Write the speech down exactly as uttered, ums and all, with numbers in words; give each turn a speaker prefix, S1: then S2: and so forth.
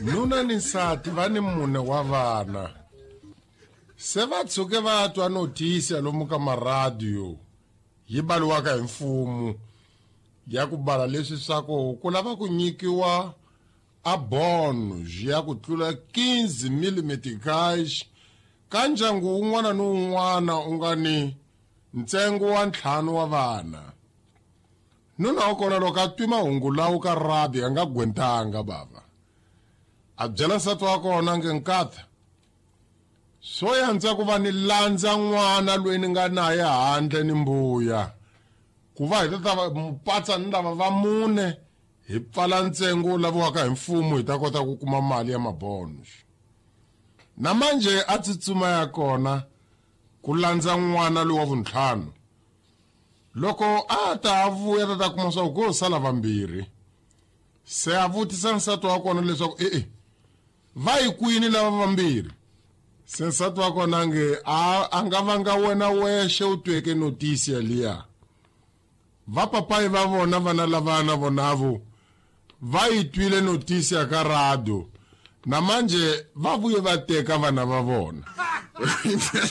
S1: Nuna ni nsati va ni mune wa vana. Se va tshuke va twa notisi lomu ka maradiyo yi baliwaka hi mfumo ya ku bala leswi swa ku ku lava ku nyikiwa a bonus ya ku tlula quinze mille meticais ka ndyangu wun'wana ni wun'wana u nga ni ntsengo wa ntlhanu wa vana. Nuna wa kona loko a twi mahungu lawo ka radio a nga gwentanga bava. A byela nsati wa kona nge nkata swo yandza ku va ni landza n'wana loyi ni nga naye handle ni mbuya ku va hi ta ta va mupatsa ni lava va mune hi pfala ntsengo wu laviwaka hi mfumo hi ta kota ku kuma mali ya mabonus. Na manje a tsutsuma ya kona ku landza n'wana loyi wa vuntlhanu. Loko a ta vuya ta ta kuma swa ku sala vambirhi. Se a vutisa nsati wa kona leswaku e-e va yi kwini lava vambirhi. Se nsati wa kona nge a, a nga vanga wena wexe u tweke notisi yaliya. Va papayi va vona vana lava na vonavo va yi twile notisi ya ka radio. Na manje va vuye va teka vana va vona.